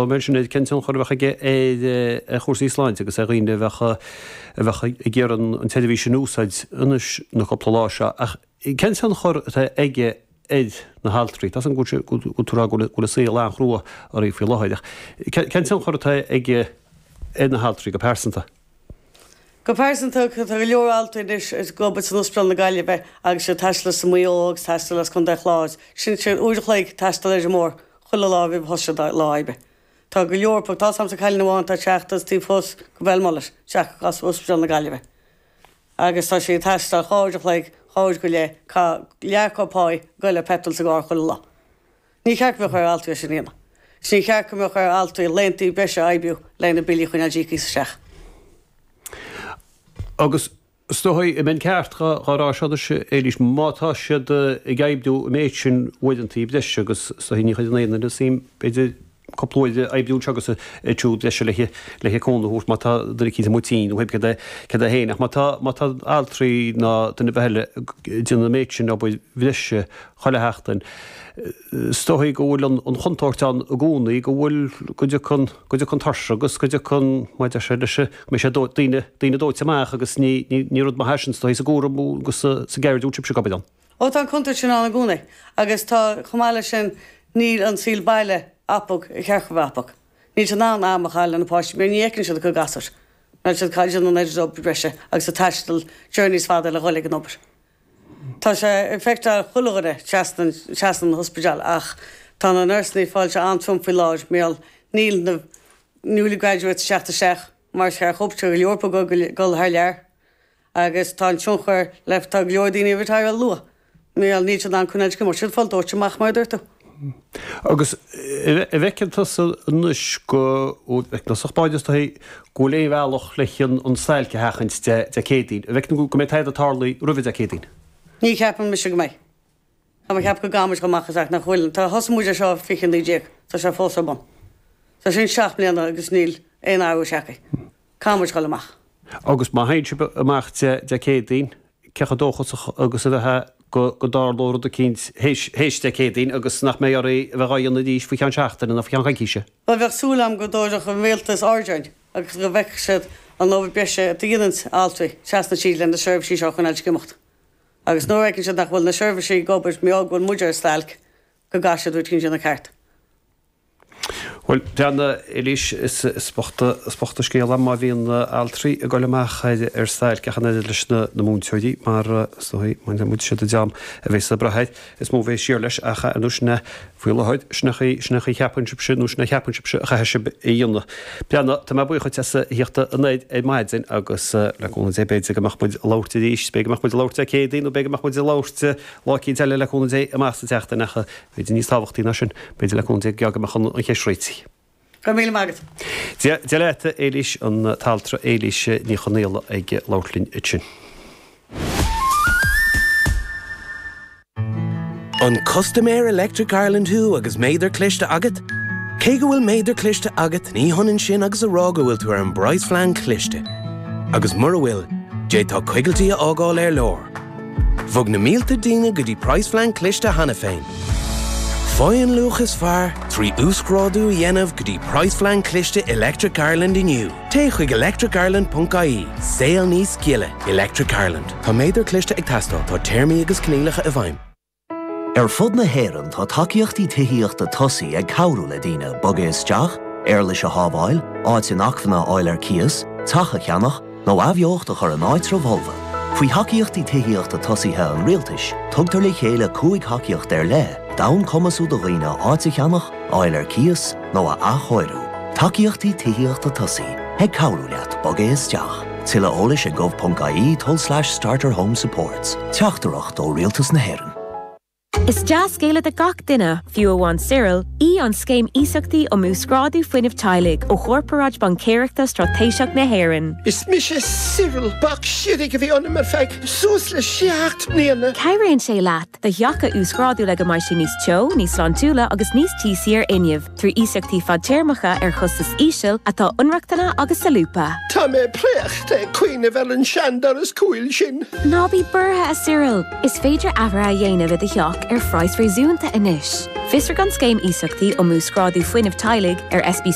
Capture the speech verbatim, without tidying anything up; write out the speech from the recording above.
Mar sin cén tionchar a bheadh aige ar ar chúrsaí sláinte agus ar dhaoine a bheadh a bheadh ag iarraidh an tseirbhís a úsáid anois na cúpla lá seo ach cén tionchar atá aige ar na haltraí? Tá go bhfuil tú ag rá go bhfuil an saol an-chrua orthu faoi láthair ach cén tionchar atá aige ar na haltraí go pearsanta? Go pearsanta tá go leor altraí anois ag obair san Ospidéal na Gaillimhe agus ag taisteal as Maigh Eo agus taisteal as Contae Chláir. Sin sé uair a chloig taisteal ar an mbóthar chuile lá roimh thoiseacht lá oibre. Tá go leor tá sam sa cailín amháin tá teacht as taobh thuas go Belmullet teach as Ospidéal na Gaillimhe. Agus tá sé ag taisteal dhá uair a chloig dhá uair go leith cá leath pá go le petrol sa gcarr chuile lá. Ní cheart go mbeadh ar altraí sin a dhéanamh. Ní cheart go mbeadh ar altraí laethanta breise a oibriú le na billí chun isteach. Agus is dóigh an mbeinn ceart dhá rá seo Éilís má tá siad ag oibriú an méid sin uaireanta breise agus is dóigh ní chuireann aon duine suim b'fhéidir cúpla uair oibriú anseo agus ansiúd breise le le cúnamh a thabhairt má tá duine eicínt amuigh tinn nó cad é cad é féin ach má tá má tá altraí ná duine ar bith eile ag déanamh an méid sin obair bhreise chuile sheachtain is dóigh go bhfuil an chontúirt ann i gcónaí go bhfuil go dtiocfaidh go dtiocfaidh an tuirse agus go dtiocfaidh mar deir sé leis go mbeidh sé daoine daoine dóite amach agus ní ní rud maith é sin is dóigh sa gcúram agus sa gceird a bhfuil sibhse ag obair ann. Ó tá an chontúirt sin ann i gcónaí agus tá chomh maith leis sin níl an saol baile acu ar cheart a bheith acu. Níl siad in ann am a chaitheamh le na páistí mar ní fheiceann siad a gcuid gasúr. Níl siad ag déanamh an oiread obair breise agus ag taisteal journeys fada le dhul ag an obair. Tá sé ag affectáil chuile dhuine trasna trasna an ospidéal ach tá na nursanna ag fáil sé an-trom faoi láthair mar níl na newly graduates teacht isteach mar is cheart dóibh go leor acu dul thar lear agus tá an tionchar le tá go leor daoine ag retireáil luath. Mar níl siad in ann coinneáil go siad fáil dóite amach mar a dúirt tú. Agus an bhfeiceann tusa anois go bhfeiceann báid is dóigh go bhfuil aon bhealach le an stailc a sheachaint Dé Céadaoin. An bhfeiceann go mbeidh tada ag tarlú roimhe Dé Céadaoin. Ní cheapaim mise go mbeidh. Tá mé ag ceapadh go gcaithfimid chomh maith is nach bhfuil. Tá thosaigh muid ar seo fiche naoi déag, tá sé fós ar bun. Tá sin seacht mbliana agus níl aon athrú tagtha. Caithfimid dul amach. Agus má théann sibh amach Dé Céadaoin, cé chomh dóchasach agus a bheifeá go dtarlódh rud eicínt théis Dé Céadaoin agus nach mbeidh oraibh a bheith á dhéanamh arís faoi cheann seachtaine nó faoi cheann coicíse? Bhuel bheadh súil agam go dtabharfadh an rialtas aird orainn agus go bhfeicfeadh siad an obair breise a dhéanann altraí trasna tríd le na seirbhísí seo a choinneáil ag imeacht. Agus nuair a fheiceann siad nach bhfuil na seirbhísí ag obair mar go bhfuil muid ar stailc go gcaithfidh siad rud éicint a dhéanamh ceart. Bhuel, breathnaigh, Éilís, is bocht is bocht an scéal é má bhíonn altraí ag dul amach ar ar stailc ach an oiread leis na na múinteoirí mar is dóigh má muid siad an dream a bheas ag brath air is mó a bheas siar leis ach ar nós sin é faoi láthair sin é chaoi sin é chaoi cheapann sibhse nó sin é cheapann sibhse a chaithfidh sibh a dhéanamh. Breathnaigh, tá mé buíoch duit as a theacht anoir ar maidin agus le cúnamh Dé b'fhéidir go mbeadh muid ag labhairt arís, b'fhéidir go mbeadh muid ag labhairt Dé Céadaoin nó b'fhéidir go mbeadh muid ag labhairt lá eicínt eile le cúnamh Dé amach sa tseachtain ach b'fhéidir níos tábhachtaí ná sin, b'fhéidir le cúnamh Dé go mbeadh an cheist réitithe. Go raibh míle maith agat. Dia Dia leat, Éilís, an t-altra Éilís Ní Chonaola ag labhairt linn ansin. An custaiméir Electric Ireland thú agus méadar cliste agat? Cé go bhfuil méadar cliste agat ní hionann sin agus a rá go bhfuil tú ar an bpraghasphlean cliste. Agus mura bhfuil, d'fhéadfá coigiltí a fhágáil ar lár. Bhog na mílte daoine go dtí praghasphlean cliste cheana féin. Faigh an luach is fearr trí uasghrádú a dhéanamh go dtí praghasphlean cliste Electric Ireland inniu. Téigh chuig electricireland.ie, Saol níos gile, Electric Ireland. Tá méadar cliste ag teastáil, tá téarmaí agus coinníollacha i bhfeidhm. Ar fud na hÉireann tá tacaíochtaí tithíochta tosaí ag cabhrú le daoine bogadh isteach, éarlais a shábháil, áit inacmhainne a fháil ar cíos, teach a cheannach, nó athbheocht a chur in áitreabh folmha. Faoi thacaíochtaí tithíochta tosaithe an rialtais, tugtar le chéile cúig thacaíocht ar leith, d'fhonn cumasú do dhaoine áit a cheannach, fháil ar cíos nó a athchóiriú. Tacaíochtaí tithíochta tosaí ag cabhrú leat bogadh isteach. Tuilleadh eolais ag gov.ie tulslais starter home supports. Teachtaireacht ó Rialtas na hÉireann. Is dea-scéala do gach duine, fiú amháin Cyril, í an scéim iasachtaí um uasghrádú fuinnimh teaghlaigh ó Chorparáid Baincéireachta Straitéiseach na hÉireann. Is mise Cyril bac sirig a bhí ionam ar feadh suas le seacht mbliana. Cabhraíonn sé leat do theach a uasghrádú le go mbeidh sé níos teo, níos sláintiúla agus níos tíosaí ar fhuinneamh, trí iasachtaí fadtéarmacha ar chostas íseal atá inrochtana agus solúbtha. Tá mé préachta ag cuimhneamh ar an seandoras cúil sin. Ná bí buartha a Cyril, is féidir athruithe a dhéanamh i do theach ar ar phraghas réasúnta anois. Fiosraigh an scéim iasachtaí um uasghrádú fuinnimh teaghlaigh ar S B